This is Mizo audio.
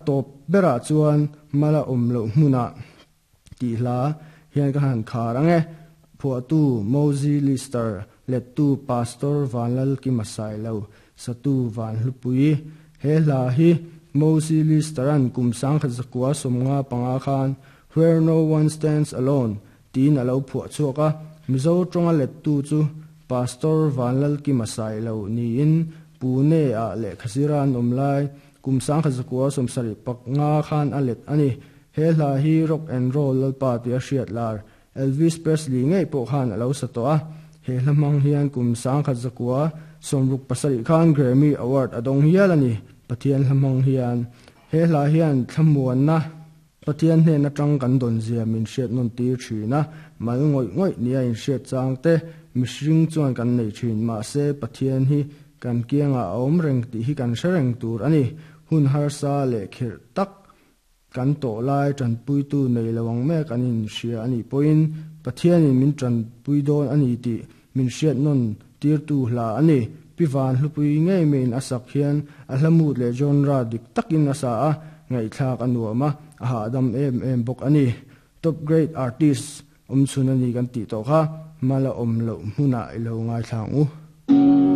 Tawp berah chuan mala awm loh hmunah tih hla hian ka han khar ang e. Phuahtu Mozi Lister, lettu Pastor Vanlalkima Sailo, satu Vanhlupui. He hla hi Mozi Lister-a'n kum 1995 khan Where No One Stands Alone tiin a lo phuah chhuak a, Mizo tawnga lettu chu Pastor Vanlalkima Sailo niin Pune-ah lehkha zira an awm lai kum 1975 khan a let a ni. He hla hi rock and roll lalpa tia hriat lar Elvis Presley ngei pawh khan a lo sa tawh a, he hla hmang hian kum 1967 khan Grammy Award a dawng hial a ni. Pathian hla hmang hian he hla hian thlamuanna Pathian hnen atang kan dawn zia min hriat nawn tir thin a, mal ngawih ngawih nia inhriat chang te mihring chuan kan nei thin. Mahse, Pathian hi kan kiangah a awm reng tih hi kan hre reng tur a ni. Hun harsa leh khirh tak kan tawh lai tanpuitu nei lo ang mek an inhria a nih pawhin Pathianin min tanpui dawn a ni tih min hriat nawn tirtu hla a ni. Pi Van Hlupui ngei maiin a sak hian a hla mut leh genre dik takin a sa a, ngaihthlak a nuam a, a hahdam em em bawk a ni. Top grade artist awmchhun a ni kan tih tawh kha, mala awm loh hmunah i lo ngaithla ang u.